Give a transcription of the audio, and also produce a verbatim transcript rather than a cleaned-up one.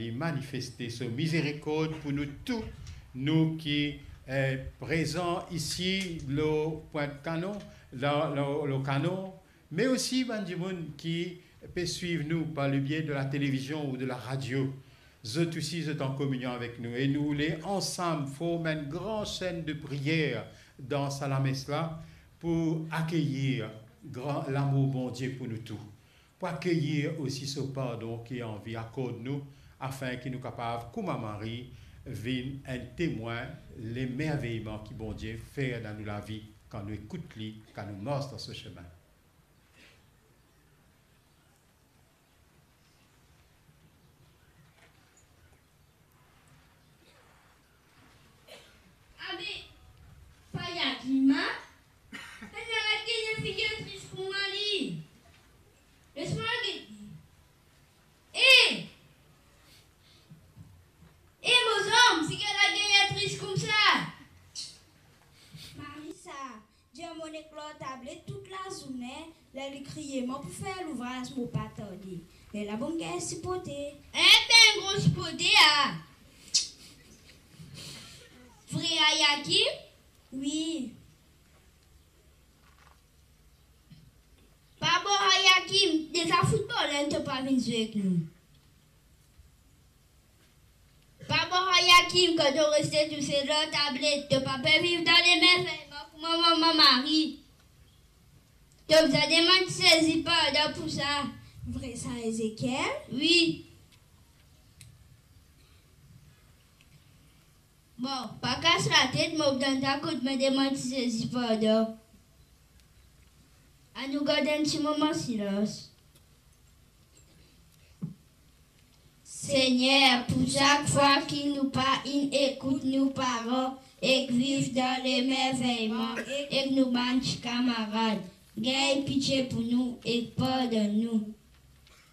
Li manifeste so mizerikord pou nou tou, nou ki, eh, prezan isi lor Pwint Kanon, lor, lor, lor Kanon, me osi bann dimoun ki pe swiv nou par le bie de la televizion ou de la radio. Zot osi, zot an kominion avek nou e nou oule ansam form enn gran senn de priyer dan sa lames la pou akeyir gran lamour Bondie pou nou tou, pou akeyir osi so pardon ki anvi akord nou, afin ki nou kapav, kouma Marie, vinn enn temwin lemerveyman ki Bondie fer dan nou lavi kan nou ekout li, kan nou mars dan so semin. Abe, pa Yakim, a? Ena la gagn enn figir tris kouma li. Les mwa get li. E! E, mo zom, figir la gagn enn tris koumsa. Marisa, dir monn ek lor tablet tout lazourne, ler li kriye mwa pou fer louvraz, mo pa tarde. Lerla bon gagn siporte. Enn gro siporte, a? Vre, a Yakim? Wi. Pa bon, a Yakim, deza foutbol, enn to pa vinn zwe ek nou. Pa bon, a Yakim, kan to reste tousel lor tablet, to pa pe viv dan lemerveyman kouma mama Marie. To bizin demann Zezi pardon pou sa. Vre sa, Ezekiel? Wi. Bon, pa kas latet, mo pou donn twa koudme demann Zezi pardon. Anou gard enn ti moman silans. Segner, pou sak fwa ki nou pa inn ekout nou paran ek viv dan lemerveyman ek nou bann ti kamarad, gagn pitie pou nou ek pardonn nou.